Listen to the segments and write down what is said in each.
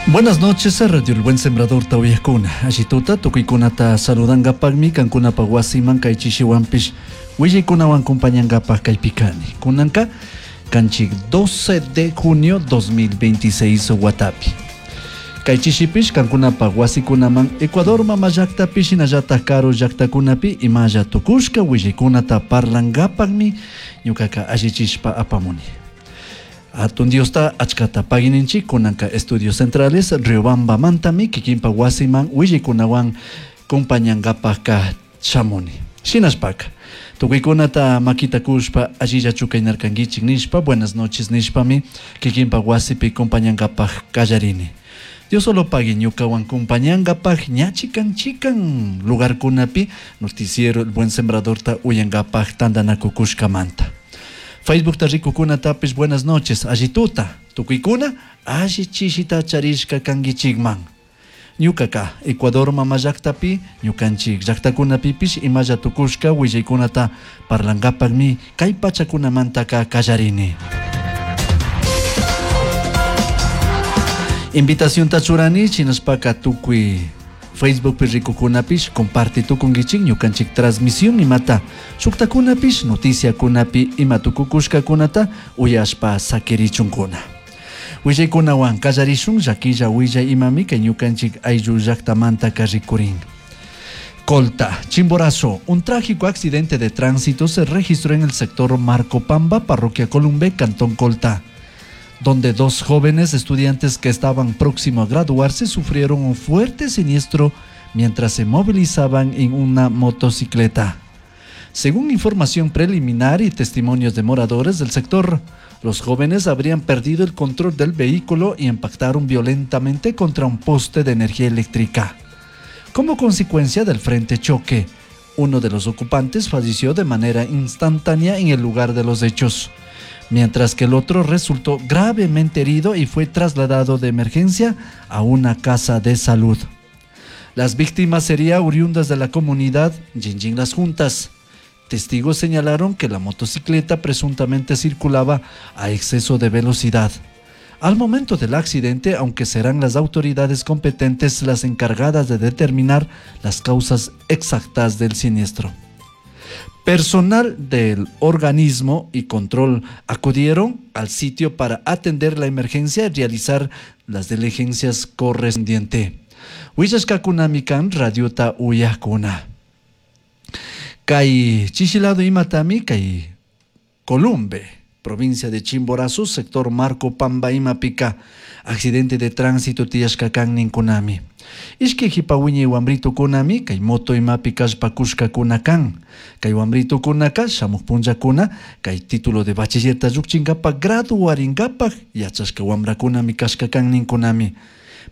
Buenas noches, Radio El Buen Sembrador Tauyakuna. Allituta tukuykunata saludangapaqmi kankunapa wasiman kay chishiwanpish willaykunawan compañangapaq kaypi kani. Kunanka kanchik 12 de junio 2026 watapi. Kay chishipish kankunapa wasikunaman Ecuador mama llaqtapi shinallataq karu llaqtakunapi imalla tukushka willaykunata parlangapaqmi ñuqaqa allichishpa apamuni. Hatun Diosta achkata pagininchik kunanka Estudios Centrales Riobambamantami kikinpa wasiman willaykunawan compañangapaqka shamuni. Shinashpaka tukuykunata makita kushpa allillachu kaynarkankichik nishpa buenas noches nishpami kikinpa wasipi compañangapaq kallarini. Dios solo pagui ñukawan compañangapaq ña chikan chikan lugarkunapi noticiero El Buen Sembradorta uyankapaq tantanakukushkamanta. Facebookta rikukunatapis buenas noches allituta tukuykuna alli chishita charishka kankichikman. Ñukaka Ecuador mama llaqtapi ñukanchik llaqtakunapipish imalla tukushka willaykunata parlankapaqmi kay pachakunamantaka kallarini. Invitacionta churani shinashpaka tukuy Facebookpi rikukunapish comparte tukunkichik ñukanchik transmisión imata shuktakunapish noticiakunapi ima tukukushkakunata uyashpa sakirichunkuna. Willaykunawan kallarishun llakilla willay imami kay ñukanchik ayllu llaqtamantaka rikurin. Colta, Chimborazo, un trágico accidente de tránsito se registró en el sector Marco Pamba, parroquia Columbe, Cantón Colta, donde dos jóvenes estudiantes que estaban próximos a graduarse sufrieron un fuerte siniestro mientras se movilizaban en una motocicleta. Según información preliminar y testimonios de moradores del sector, los jóvenes habrían perdido el control del vehículo y impactaron violentamente contra un poste de energía eléctrica. Como consecuencia del frente choque, uno de los ocupantes falleció de manera instantánea en el lugar de los hechos, mientras que el otro resultó gravemente herido y fue trasladado de emergencia a una casa de salud. Las víctimas serían oriundas de la comunidad Jinjin Las Juntas. Testigos señalaron que la motocicleta presuntamente circulaba a exceso de velocidad. Al momento del accidente, aunque serán las autoridades competentes las encargadas de determinar las causas exactas del siniestro. Personal del organismo y control acudieron al sitio para atender la emergencia y realizar las diligencias correspondientes. Willashkakunami radiota uyakuna. Kay chishilado imatami kay Columbe, provincia de Chimborazo, sector Marco Pamba imapika, accidente de tránsito tiyashkakan ninkunami. Ishkay hipa wiñay wambritukunami kay moto imapi kallpakushkakuna kan. Kay wambritukunaka shamuq punllakuna kay título de bachillerta llukchinkapak graduarinkapak yachashka wamrakunami kashka kan ninkunami.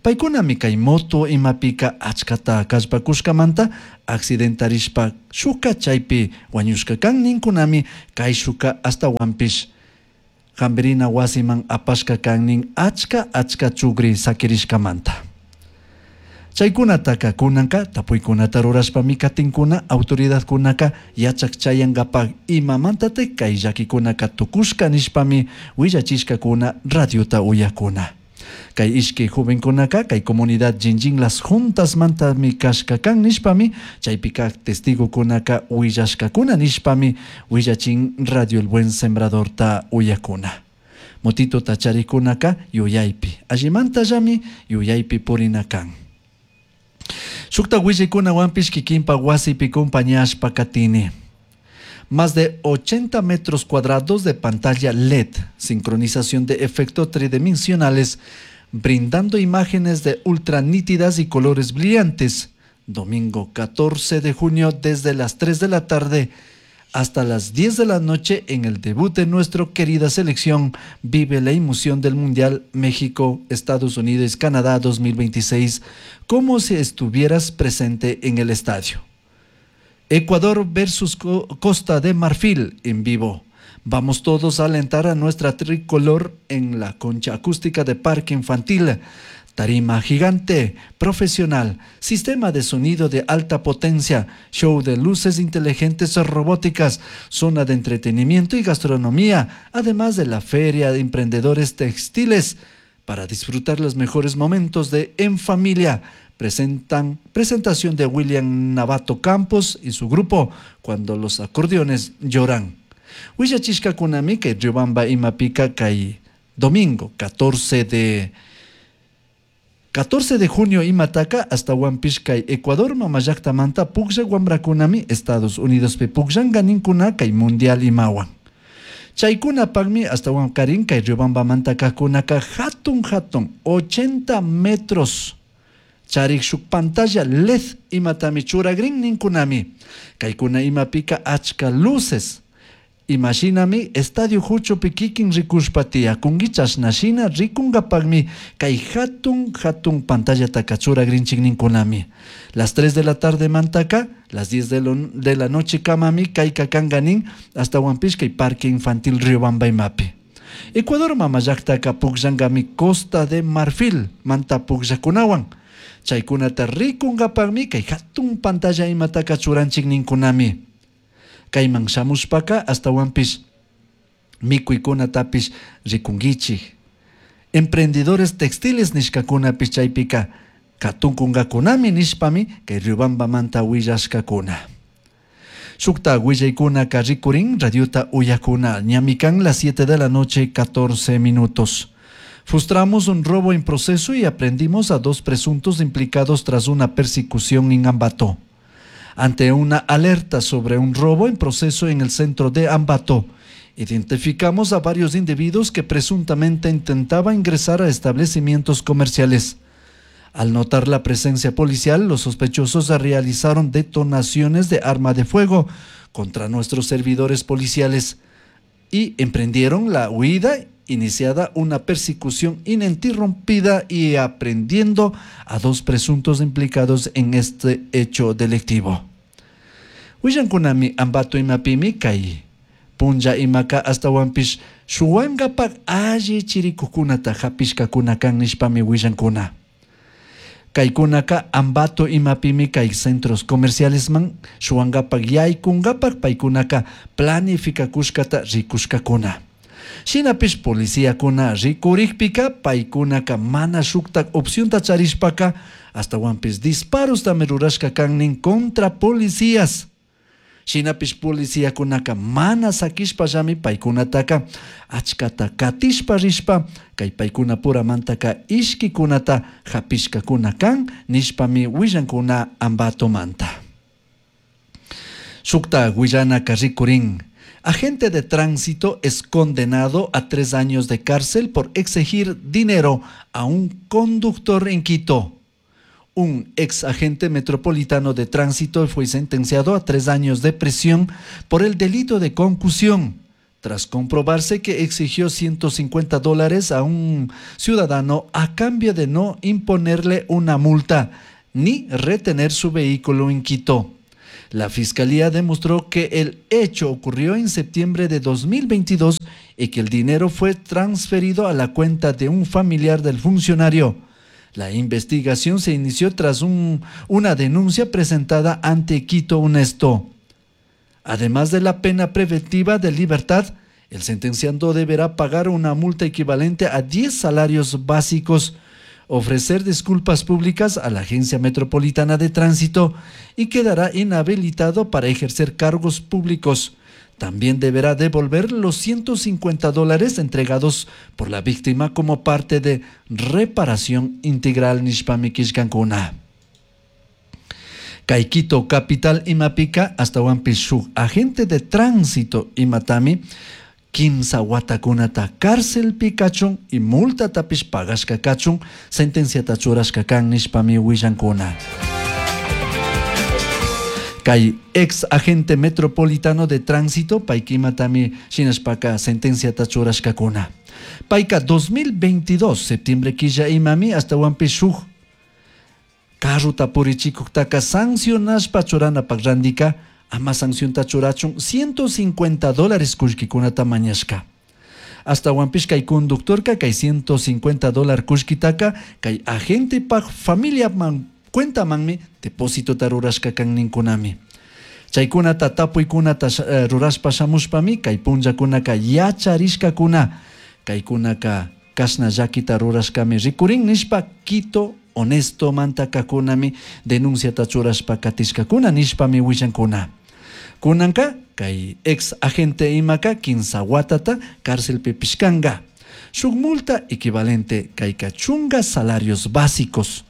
Paykunami kay moto imapika achkata kallpakushkamanta accidentarishpa shuka chaypi wañushka kan ninkunami kay shuka ashtawanpish hampirina wasiman apashka kan nin achka achka chukri sakirishkamanta. Chaykunataka kunanka tapuykunata rurashpami katinkuna autoridadkunaka yachak chayankapak imamantatik kay llakikunaka tukushka nishpami willachishkakuna radiota uyakuna. Kay ishkay jovenkunaka kay comunidad Jinjin Las Juntasmantami kashka kan nishpami chaypika testigokunaka willashkakuna nishpami willachin Radio El Buen Sembradorta uyakuna. Motito tacharikunaka yuyaypi allimantallami yuyaypi purina kan. Shukta willaykunawanpish kikinpa wasipi compañashpa katini. Más de 80 metros cuadrados de pantalla LED, sincronización de efectos tridimensionales, brindando imágenes de ultra nítidas y colores brillantes. Domingo 14 de junio desde las 3 de la tarde hasta las 10 de la noche en el debut de nuestra querida selección vive la emoción del Mundial México, Estados Unidos, Canadá 2026, como si estuvieras presente en el estadio. Ecuador versus Costa de Marfil en vivo. Vamos todos a alentar a nuestra tricolor en la concha acústica de Parque Infantil. Tarima gigante, profesional, sistema de sonido de alta potencia, show de luces inteligentes robóticas, zona de entretenimiento y gastronomía, además de la feria de emprendedores textiles. para disfrutar los mejores momentos de En Familia. Presentan presentación de William Navato Campos y su grupo Cuando los acordeones lloran. Willachishkakunami kay Riobamba imapika kay domingo 14 de junio imataka hasta kay Ecuador mamallaktamanta pukllak wamrakunami Estados Unidospi pukllanka ninkuna kay mundial imawan. Chaykunapakmi ashtawankarin kay Riobambamanta kajkunaka hatun hatun 80 metros charik shuk pantalla LED imatami churagrin ninkunami. Kaykuna imapika achka luces. Imashinami estadio huchupi kikin rikushpa tiyakunki chashnashina rikunkapakmi kay hatun hatun pantallataka churagrinchik ninkunami. Las 3 de la tarde mantaka, las 10 de la noche kamami kayka kanka nin ashtawanpish kay Parque Infantil Riobamba imapi. Ecuador mamallaktaka pukllankami Costa de Marfil manta pukllakunawan. Chaykunata rikunkapakmi kay hatun pantalla imataka churanchik ninkunami. Kayman shamushpaka ashtawanpish mikuykunatapish rikunkichik. Emprendedores textiles nishkakunapish chaypika katunkunkakunami nishpami kay Riobambamanta willashkakuna. Shukta willaykunaka rikurin radiota uyakuna ñami kan las 7 de la noche 14 minutos. Frustramos un robo en proceso y aprendimos a dos presuntos implicados tras una persecución en Ambato. Ante una alerta sobre un robo en proceso en el centro de Ambato, identificamos a varios individuos que presuntamente intentaban ingresar a establecimientos comerciales. Al notar la presencia policial, los sospechosos realizaron detonaciones de arma de fuego contra nuestros servidores policiales y emprendieron la huida, iniciada una persecución ininterrumpida y aprehendiendo a dos presuntos implicados en este hecho delictivo. Willankunami Ambato imapimi kay punlla imaka ashtawanpish shuwankapak alli chirikukunata hapishkakuna kan nishpami willankuna. Kaykunaka Ambato imapimi kay centros comercialesman shuwankapak yaykunkapak paykunaka planifikakushkata rikushkakuna. Shinapish policíakuna rikurikpika paykunaka mana shuktak opcionta charishpaka ashtawanpish disparostami rurashka kan nin contra policías. Shinapish policíakunaka mana sakishpallami paykunataka achkata katishpa rishpa kay paykunapuramantaka ishkikunata hapishkakuna kan nishpami willankuna Ambatomanta. Shukta willanaka rikurin. Agente de tránsito es condenado a 3 años de cárcel por exigir dinero a un conductor en Quito. Un ex agente metropolitano de tránsito fue sentenciado a 3 años de prisión por el delito de concusión, tras comprobarse que exigió $150 a un ciudadano a cambio de no imponerle una multa ni retener su vehículo en Quito. La fiscalía demostró que el hecho ocurrió en septiembre de 2022 y que el dinero fue transferido a la cuenta de un familiar del funcionario. La investigación se inició tras una denuncia presentada ante Quito Honesto. Además de la pena preventiva de libertad, el sentenciado deberá pagar una multa equivalente a 10 salarios básicos, ofrecer disculpas públicas a la Agencia Metropolitana de Tránsito y quedará inhabilitado para ejercer cargos públicos. También deberá devolver los $150 entregados por la víctima como parte de reparación integral nishpami killkankuna. Kay Quito capital imapika ashtawanpish shuk agente de tránsito imatami kimsa watakunata cárcelpi kachun y multatapish pagashka kachun sentenciata churashka kan nishpami willankuna. Kay ex agente metropolitano de tránsito paykimatami shinashpaka sentenciata churashkakuna. Payka 2022 septiembre killa imami ashtawanpish shuk carruta purichikuktaka sancionashpa churanapak randika ama sancionta churachun $150 kullkikunata mañashka. Ashtawanpish kay conductorka kay $150 kullkitaka kay agente pak familia man cuentamanmi depósito rurashka kan ninkunami. Chaykunata tapuykunata rurashpa shamushpami kay punllakunaka yacharishkakuna kaykunaka Kashna llakita rurashkami rikurin nishpa Quito Honesto mantakakunami denunciata churashpa katishkakuna nishpami willankuna. Kunanka kay ex agente imaka kinsa watata cárcelpi pishkanka. Shuk multa equivalente kayka chunga salarios básicos.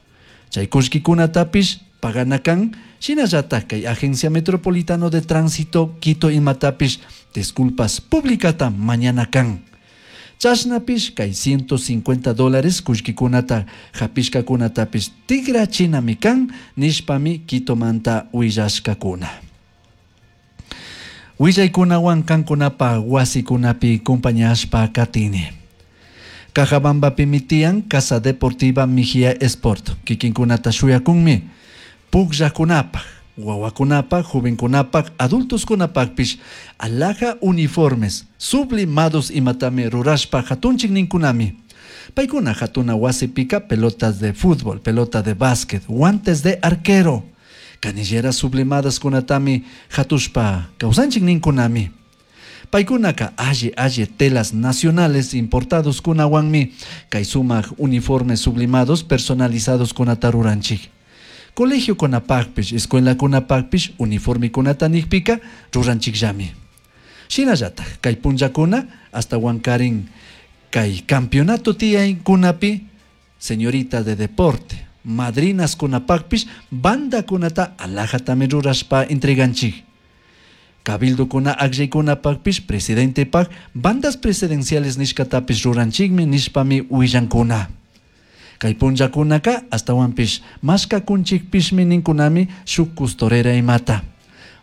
Chay kullkikunatapish pagana kan, shinallatak kay Agencia Metropolitano de Tránsito Quito imatapish disculpas publicata mañana kan. Chashnapish kay $150 kullkikunata hapishkakunatapish tikrachinami kan nishpami Quitomanta willashkakuna. Willaykunawan kankunapa wasikunapi compañashpa katini. Cajabambapimi tiyan Casa Deportiva Mejía Sport. Kikinkunata shuyakunmi. Pukllakunapaj, wawakunapaj, jovenkunapaj, adultoskunapajpish alhaja uniformes sublimados imatami rurashpa hatunchik ninkunami. Paykuna hatuna wasipika pelotas de fútbol, pelota de básquet, guantes de arquero, canilleras sublimadas kunatami hatushpa kawsanchik ninkunami. Paykunaka alli alli telas nacionales importados kunawanmi kay sumak uniformes sublimados personalizados kunata ruranchik. Colegio kunapakpish, escuela kunapakpish, uniforme kunata nikpika ruranchikllami. Shinallatak kay punllakuna hasta wankarin kay campeonato tiyaykunapi señorita de deporte, madrinas kunapakpish, banda kunata alhajatami rurashpa entreganchik. Cabildo kuna akllaykunapakpish, presidentepak, bandas presidenciales nishkatapish ruranchikmi nishpami willankuna. Kay punllakunaka astawanpish mashkakunchikpishmi ninkunami shuk costurera imata.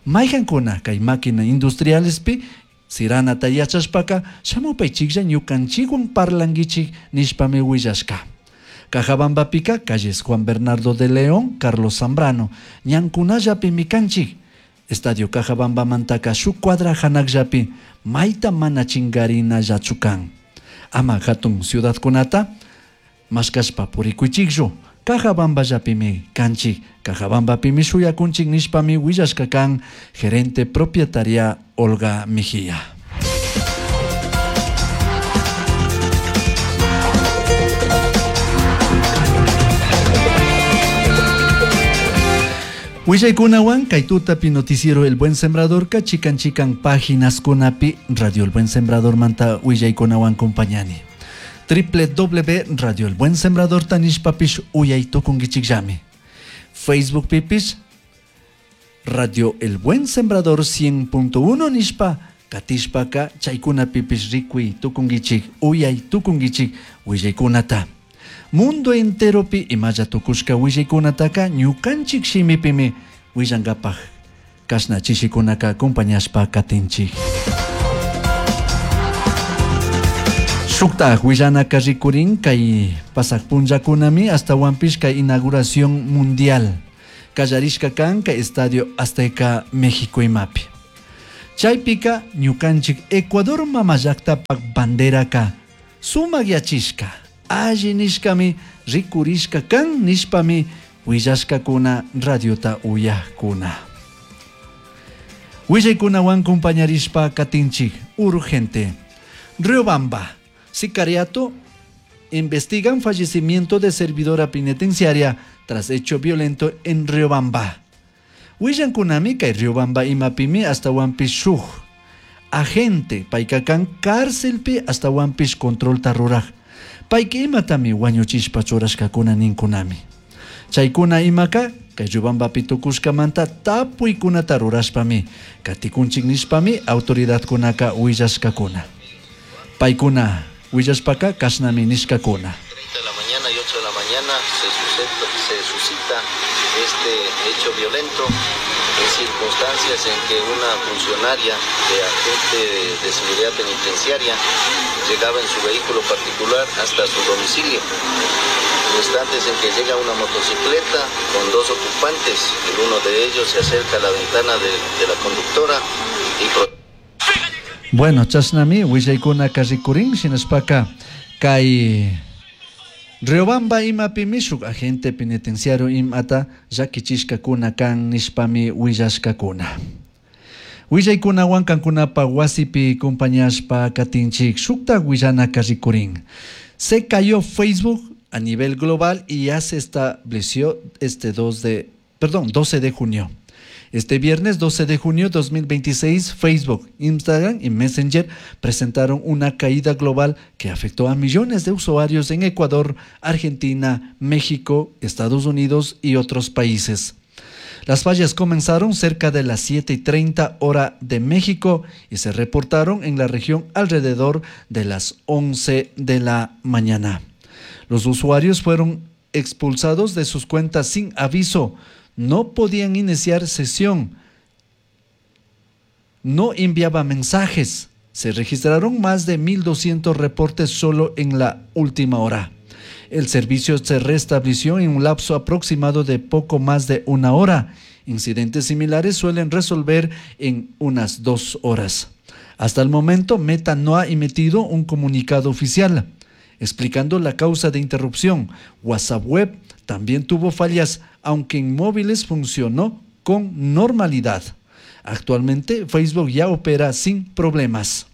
Mayhankuna kay máquina industrialespi siranata yachashpaka shamupaychiklla ñukanchikwan parlankichik nishpami willashka. Cajabambapika calles Juan Bernardo de León, Carlos Zambrano, ñankunallapimi kanchik. Estadio Cajabambamantaka shuk cuadra hanakllapi mayta mana chingarinallachu kan. Ama hatun ciudadkunata mashkashpa purikuychikchu. Cajabamballapimi kanchik, Cajabambapimi shuyakunchik nishpami willashka kan gerente propietaria Olga Mejía. Willaykunawan kay tutapi noticiero El Buen Sembrador ka chikan chikan páginas kunapi Radio El Buen Sembrador manta willaykunawan compañani. www Radio El Buen Sembrador tanishpapish uyay tukunkichikllami. Facebook pipish Radio El Buen Sembrador 100.1 nishpa katishpaka chaykunapipish rikuy tukunkichik uyay tukunkichik willaykunata. Mundo enteropi imalla tukushka willaykunataka ñukanchik shimipimi willankapaj kashna chishikunaka acompañashpa katinchik. Shuktaj willanaka rikurin kay pasaq punllakunami astawanpish kay inauguración mundial kallarishka kan kay Estadio Azteca México imapi. Chaypika ñukanchik Ecuador mama llaktapak banderaka sumak yachishka alli nishkami rikurishka kan nishpami willashkakuna radiota uyajkuna. Willaykunawan compañarishpa katinchik urgente. Riobamba, sicariato investigan fallecimiento de servidora penitenciaria tras hecho violento en Riobamba. Willankunami kay Riobamba imapimi astawanpish shuk agente paykakan cárcelpi astawanpish controlta ruraj. Payka imatami wañuchishpa churashkakuna ninkunami. Chaykuna imaka kay Riobambapi tukushkamanta tapuykunata rurashpami katikunchik nishpami autoridadkunaka willashkakuna. Paykuna willashpaka kashnami nishkakuna. 30 de la mañana y 8 de la mañana se suscita este hecho violento en circunstancias en que una funcionaria de agente de seguridad penitenciaria llegaba en su vehículo particular hasta su domicilio. Instantes en que llega una motocicleta con dos ocupantes, el uno de ellos se acerca a la ventana de la conductora y Bueno, chashnami willaykunaka rikurin shinashpaka kay Riobamba imapimi shuk agente penitenciario imata llakichishkakuna kan nishpami willashkakuna. Willaykunawan kankunapa wasipi compañashpa katinchik shukta willanaka rikurin. Se cayó Facebook a nivel global y ya se estableció este 12 de junio. Este viernes 12 de junio de 2026, Facebook, Instagram y Messenger presentaron una caída global que afectó a millones de usuarios en Ecuador, Argentina, México, Estados Unidos y otros países. Las fallas comenzaron cerca de las 7:30 hora de México y se reportaron en la región alrededor de las 11 de la mañana. Los usuarios fueron expulsados de sus cuentas sin aviso, no podían iniciar sesión, no enviaba mensajes. Se registraron más de 1.200 reportes solo en la última hora. El servicio se restableció en un lapso aproximado de poco más de una hora. Incidentes similares suelen resolver en unas 2 horas. Hasta el momento, Meta no ha emitido un comunicado oficial explicando la causa de interrupción. WhatsApp Web también tuvo fallas, aunque en móviles funcionó con normalidad. Actualmente, Facebook ya opera sin problemas.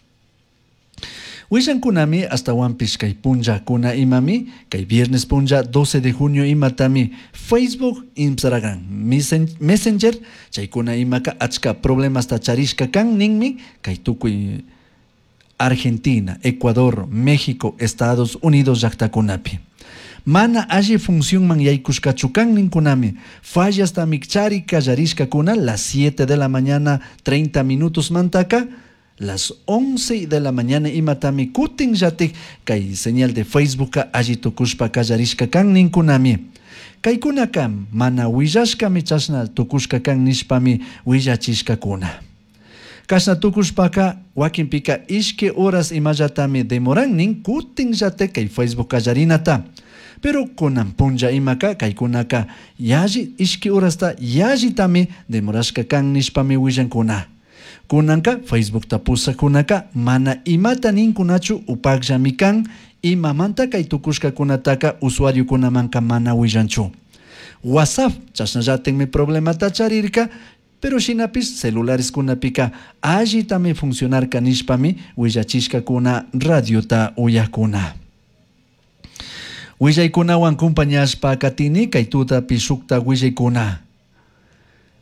Willankunami hasta kay punlla kuna imami, kay viernes punlla 12 de junio imatami Facebook, Instagram, Messenger, chaykuna imaka achka problemas tacharishka kan ninmi, kay tukuy Argentina, Ecuador, México, Estados Unidos llaqtakunapi. Mana alli funcionman yaykushkachu kan ninkunami, fallas tamikchari kallarishkakuna las 7 de la mañana 30 minutos mantaka, las 11 de la mañana imatami kutin llatik kay señal de Facebook alli tukushpa kallarishka kan ninkunami. Kaykunaka mana willashkami chashna tukushka kan nishpami willachishkakuna. Kashna tukushpaka wakinpika ishki horas imallatami demoran nin kutin llatik kay Facebook kallarinata. Pero kunan punlla imaka kaykunaka yalli ishki horasta yallitami demorashka kan nishpami willankuna. Kunanka Facebook tapusakunaka mana imata ninkunachu upakllami kan imamanta kay tukushkakunataka usuariokunamanka mana willanchu. WhatsApp chashnallatinmi problemata charirka, pero shinapis celulares kunapika allitami funcionarka nishpami willachishkakuna radiota uyakuna. Willaykunawan compañashpa katini kay tutapi shukta willaykuna.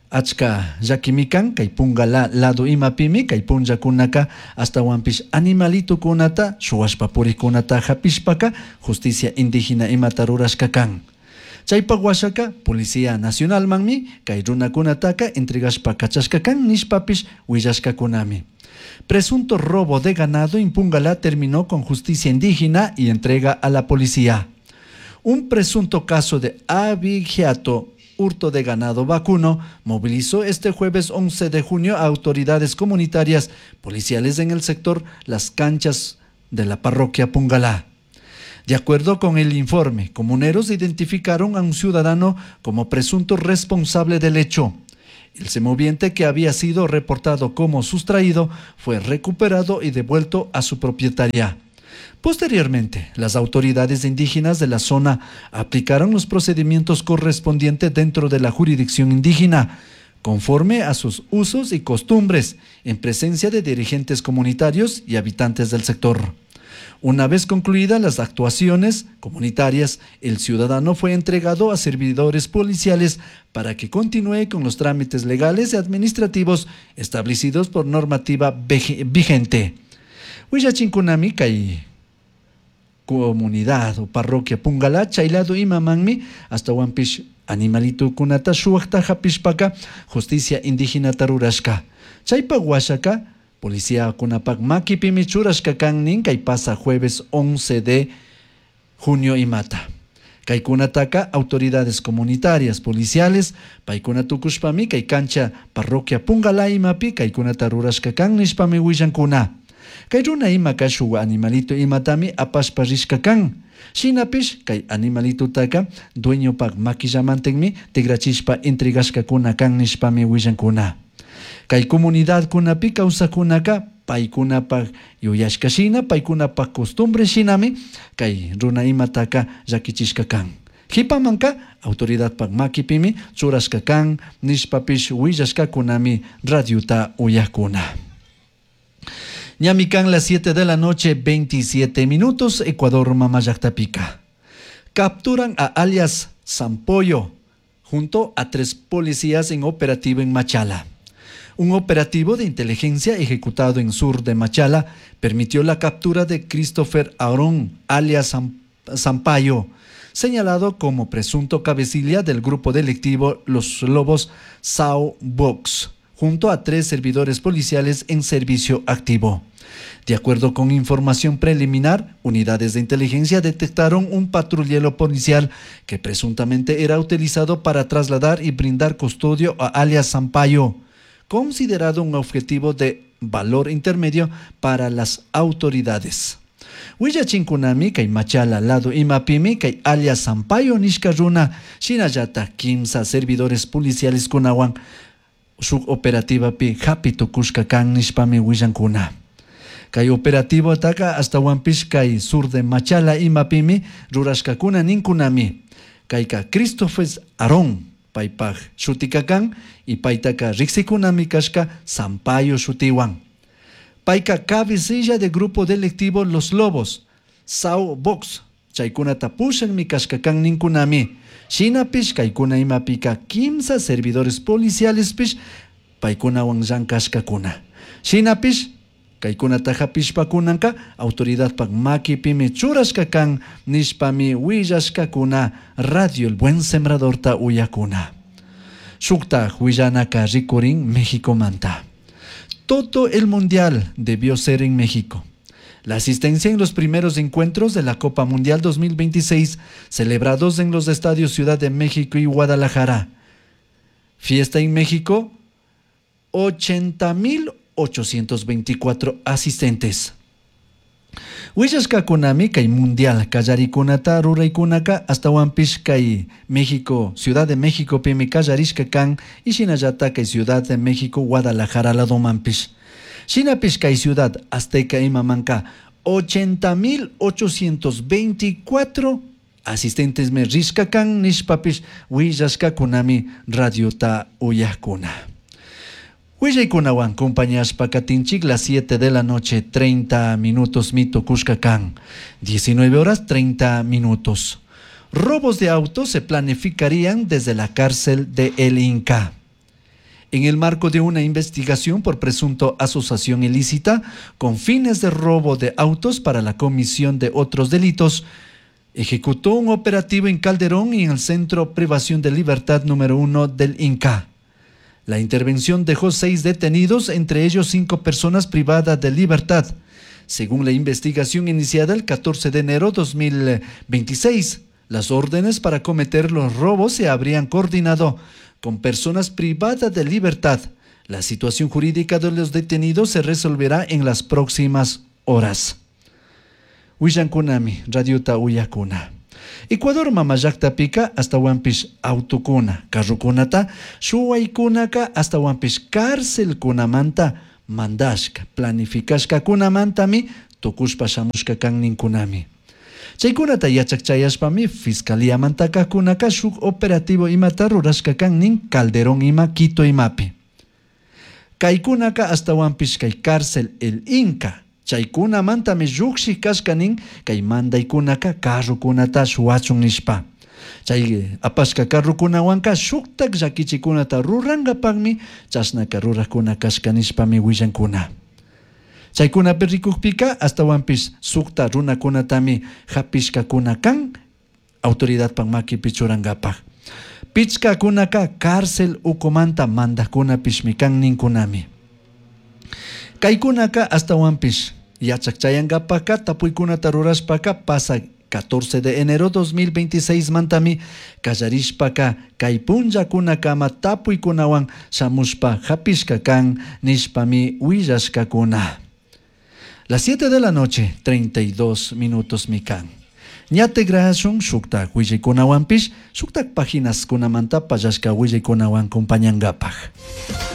Achka llakimikan kay Pungalá lado imapimi kay punllakunaka astawanpish animalitukunata shuwashpa purikunata hapishpaka justicia indígena imata rurashka kan. Chaypak washaka Policía Nacionalmanmi kay runakunataka entregashpa kachashka kan nishpapish willashkakunami. Presunto robo de ganado en Pungalá terminó con justicia indígena y entrega a la policía. Un presunto caso de abigeato, hurto de ganado vacuno, movilizó este jueves 11 de junio a autoridades comunitarias policiales en el sector Las Canchas de la parroquia Pungalá. De acuerdo con el informe, comuneros identificaron a un ciudadano como presunto responsable del hecho. El semoviente, que había sido reportado como sustraído, fue recuperado y devuelto a su propietaria. Posteriormente, las autoridades indígenas de la zona aplicaron los procedimientos correspondientes dentro de la jurisdicción indígena, conforme a sus usos y costumbres, en presencia de dirigentes comunitarios y habitantes del sector. Una vez concluidas las actuaciones comunitarias, el ciudadano fue entregado a servidores policiales para que continúe con los trámites legales y administrativos establecidos por normativa vigente. Willachinkunami kay comunidad o parroquia Pungalá, chaylado imamanmi, hasta wampish animalitukunata shuwaqta hapishpaka justicia indígena tarurashka. Chaypa washaka policía kunapak makipimi churashka kan nin kay pasa jueves 11 de junio imata. Kaykunataka autoridades comunitarias, policiales, paykuna tukushpami kay cancha parroquia Pungalá imapi kaykunata rurashka kan nishpami willankuna. Kay runa imaka shuk animalito imatami apashpa rishka kan. Shinapish kay animalitutaka dueñopak makillamantinmi tigrachishpa entregashkakuna kan nishpami willankuna. Kay comunidadkunapi kawsakunaka paykunapak yuyashka shina, paykunapak costumbre shinami kay runa imataka llakichishka kan. Hipamanka autoridadpak makipimi churashka kan nishpapish willashkakunami radiota uyakuna. Ñami kan las 7 de la noche, 27 minutos, Ecuador mamallaktapica. Capturan a alias Zampollo junto a 3 policías en operativo en Machala. Un operativo de inteligencia ejecutado en sur de Machala permitió la captura de Christopher Aarón, alias Zampayo, señalado como presunto cabecilla del grupo delictivo Los Lobos Sao Box, junto a 3 servidores policiales en servicio activo. De acuerdo con información preliminar, unidades de inteligencia detectaron un patrullero policial que presuntamente era utilizado para trasladar y brindar custodio a alias Zampayo, considerado un objetivo de valor intermedio para las autoridades. Willachinkunami kay Machala lado imapimi kay alias Zampayo nishka runa shinallata 15 servidores policiales kunawan shuk operativapi hapi tukushka kan nishpami willankuna. Kay operativo taka hasta kay sur de Machala imapimi rurashkakuna ninkunami. Kayka Christopher Aarón paypaj shutikakan y paytaka riksikunami kashka Zampayo shutiwan. Payka cabecilla de grupo delictivo Los Lobos, Sao Box, chaykunata pushanmi kashkakan ninkunami. Shinapish kaykuna imapika 15 servidores policiales pish paykunawan llankashkakuna. Shinapish kaykunata hapishpakunanka autoridadpak makipimi churashkakan nishpami willashkakuna Radio El Buen Sembradorta uyakuna. Shukta willanaka rikurin Mexicomanta. Todo el mundial debió ser en México. La asistencia en los primeros encuentros de la Copa Mundial 2026, celebrados en los estadios Ciudad de México y Guadalajara. Fiesta en México, 80,824 asistentes. Willashkakunami kay mundial kallarikunata ruraykunaka hasta kay México, Ciudad de México pimi kallarishka kan y shinallata kay Ciudad de México, Guadalajara ladomanpish. Shinapish kay Ciudad Azteca imamanka 80,824 asistentes me rishka kan nishpapish willashkakunami radiota uyakuna. Willaykunawan compañashpa katinchik las 7 de la noche 30 minutos mito kan, 19 horas 30 minutos. Robos de autos se planificarían desde la cárcel de El Inca. En el marco de una investigación por presunto asociación ilícita con fines de robo de autos para la comisión de otros delitos, ejecutó un operativo en Calderón y en el Centro Privación de Libertad número 1 del Inca. La intervención dejó 6 detenidos, entre ellos 5 personas privadas de libertad. Según la investigación iniciada el 14 de enero de 2026, las órdenes para cometer los robos se habrían coordinado con personas privadas de libertad. La situación jurídica de los detenidos se resolverá en las próximas horas. Willankunami, Radiota Uyakuna. Ecuador mamallakta hasta wampish autukuna, carrukunata, shuwaykunaka hasta wampish cárcelkunamanta mandashka, planificashkakunamantami tukushpa shamushka kan ninkunami. Chaykunata yachakchayashpami fiscaliamantakakunaka shuk operativo imata rurashka kan nin Calderón ima Quito imapi. Kaykunaka hasta wampish kay cárcel El Inca. Chaykunamantami lluqshik kashka nin kay mandaykunaka carrukunata shuwachun nishpa. Chay apashka carrukunawanka shuktak llakichikunata rurankapakmi chashnaka rurakuna kashka nishpami willankuna. Chaykunapi rikukpika hasta wampish sukta runakunatami hapishkakuna kan autoridadpak makipi churankapak. Pichkakunaka cárcel ukumanta mandakkunapishmi kan ninkunami. Kaykunaka hasta wampish yachakchayankapaka tapuykunata rurashpaka pasa 14 de enero 2026 mantami kallarishpaka kay punllakunakama tapuykunawan shamushpa hapishka kan nishpami willashkakuna. Las 7 de la noche, 32 minutos mikan. Ñate grashun shuktak willaykunawanpish, shuktak páginas kunamanta pallashka willaykunawan compañangapak.